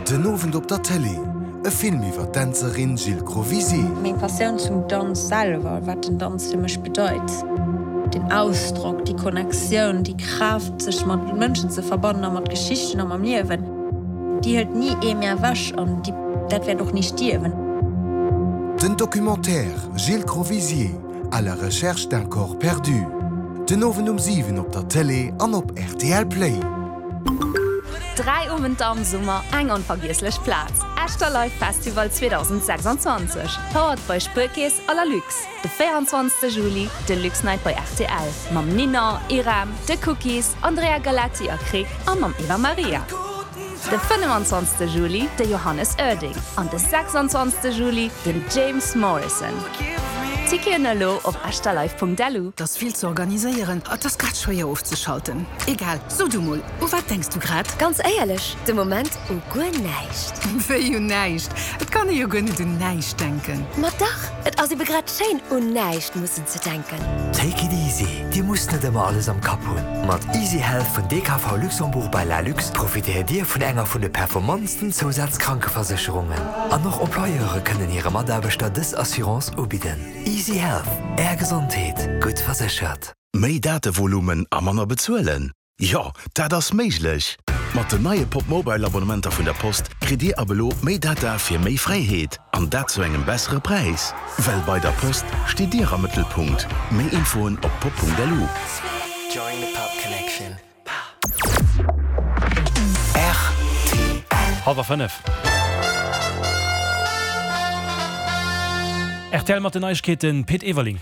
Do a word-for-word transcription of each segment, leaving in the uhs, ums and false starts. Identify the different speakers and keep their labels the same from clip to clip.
Speaker 1: Den Owend op der Tëlee, e Film iwwer d'Dänzerin Jill Crovisier.
Speaker 2: Meng Passioun zum Danz selwer, wat den Danz fir mech bedeit, den Ausdrock, déi Connectioun, déi Kraaft, sech mat Mënschen ze verbannen a mat Geschichten a mam Liewen, déi hëlt ni ee mir ewech an déi, dat wäert och ni stierwen.
Speaker 1: Den Documentaire Jill Crovisier, à la recherche d'un corps perdu. Den Owend um siwen op der Tëlee an op R T L Play.
Speaker 3: Dräi Owenter am Summer, eng onvergiesslech Plaz. Esch Live Festival zweedausendsechsanzwanzeg. Powered by Spuerkeess a Lalux. De véierundzwanzegste Juli, de Lux Night bei R T L. Mam Nina, Irem, The Cookies, Andrea Galetti a Krick a mam Eva Maria. De fënnefenzwanzegste Juli, de Johannes Oerding. An de sechsanzwanzegste Juli, den James Morrison. Ticketen elo op echterlive Punkt L U.
Speaker 4: Dat ass vill ze organiséieren, dat ass grad schwéier ofzeschalten. Egal, so du mol, u wat denks du grad?
Speaker 5: Ganz éierlech, de Moment u guer näischt.
Speaker 4: Wéi un näischt? Et kann ee jo guer net un näischt denken.
Speaker 5: Ma dach, et ass ebe grad schéin, un näischt mussen ze denken.
Speaker 6: Take it easy. Dir musst net ëmmer alles am Kapp hunn. Mat Easy Health vun D K V Luxembourg bei Lalux profitéiert Dir vun enger vun de performantsten Zousazkrankeversécherungen. An och Employeure kënnen hire Mataarbechter dës Assurance ubidden. Easy Health. Är Gesondheet. Gutt verséchert.
Speaker 7: Méi Datevolumen a manner bezuelen? Jo, dat ass méiglech. Mat den neie Pop Mobile Abonnementer vun der Post kritt Dir ab elo méi Data fir méi Fräiheet an dat zu engem bessere Präis. Well bei der Post steet Dir am Mëttelpunkt. Méi Infoen op pop Punkt L U.
Speaker 8: Join the Pop Connection.
Speaker 9: Hallwer fënnef. R T L mat den Neiegkeeten, Pit Everling.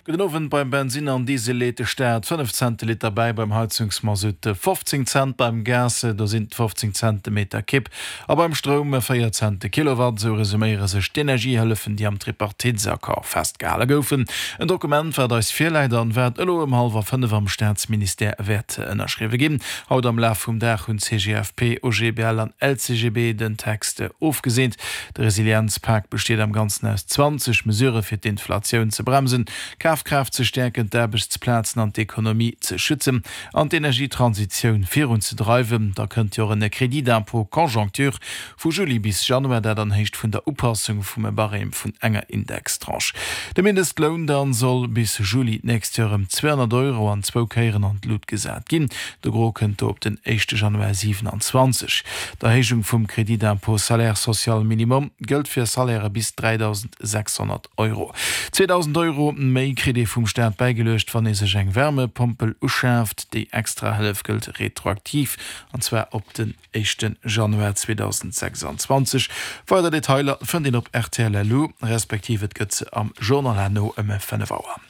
Speaker 10: Gudden Owend. Beim Bensin an Diesel leet de Staat fënnef Cent de Liter bäi, beim Heizungsmasutt fofzéng Cent, beim Gas do sinn et fofzéng Cent de Meter Kibb a beim Stroum véier Cent de Kilowatt. Esou resuméiere sech d'Energiehëllefen, déi am Tripartitesaccord festgehale goufen. En Dokument, wat eis virläit an wat elo ëm hallwer fënnef am Staatsministère wäert ënnerschriwwe ginn. Haut am Laf vum Dag hunn C G F P, O G B L an L C G B den Text ofgeseent. De Resilienzpak besteet am Ganzen aus zwanzeg Mesurë fir d'Inflatioun ze bremsen, Kafkraaft ze stäerken, d'Aarbechtsplazen an d'Ekonomie ze schützen an d'Energietransitioun virunzedreiwen. Da kënnt jo och en Crédit d'impôt conjoncture vu Juli bis Januar, dat an Héicht vun der Upassung vum Barème vun enger Indextranche. De Mindestloun dann soll bis Juli d'nächst Joer ëm zweehonnert Euro an zwou Kéieren an d'Lut gesat ginn. De Gros kënnt do op den éischte Januar siewenanzwanzeg. D'Erhéijung vum Crédit d'impôt salaire social minimum gëllt fir Salairë bis dräidausendsechshonnert Euro. Zweedausend Euro méi kritt ee vum Staat bäigeluecht, wann ee sech eng Wärmepompel uschaaft. Déi extra Hëllef gëllt retroaktiv, an zwar op den éischte Januar zweedausendsechsanzwanzeg. Weider Detailer fënnt een op R T L L U, respektiv et gëtt se am Journal herno ëm fënnef Auer.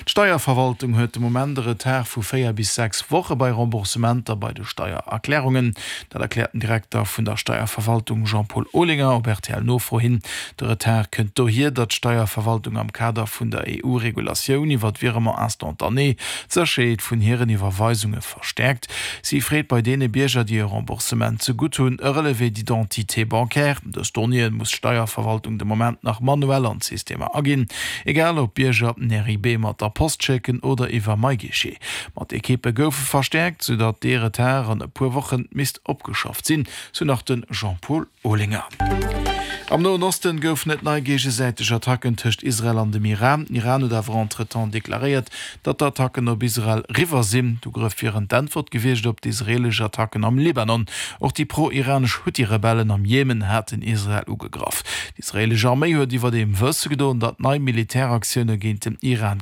Speaker 10: D'Steierverwaltung huet de Moment e Retard vu véier bis sechs Woche bei Remboursementer bei de Steiererklärungen. Dat erkläert den Direkter vun der Steierverwaltung Jean-Paul Olinger op R T L Nofro hin. De Retard kënnt dohier, datt d'Steierverwaltung am Kader vun der E U-Regulatioun iwwer d'Virement instantané d'Sécherheet vun hiren Iwwerweisunge verstäerkt. Si freet bei deene Bierger, déi e Remboursement ze gutt hunn, e Relevé d'identité bancaire. Dës Donnéeë muss d'Steierverwaltung de Moment nach manuell an d'Systemer aginn. Egal ob Bierger en R I B mat der Post schécken oder iwwer MyGuichet. Ma d'Ekippe goufe verstäerkt, soudatt dee Retard an e puer Woche misst opgeschafft sinn, sou nach de Jean-Paul Olinger. Am Noen Osten goufen et nei géigesäiteg Attacken tëscht Israel an dem Iran. Iran huet awer entretemps deklaréiert, datt d'Attacken op Israel eriwwer sinn. D'Ugrëff wieren d'Äntwert gewiescht op d'israeelesch Attacken am Libanon. Och déi pro-iranesch Huthi-Rebellen am Jemen haten Israel ugegraff. D'israeelesch Arméi huet iwwerdeem wësse gedoen, datt nei Militäraktioune géint den Iran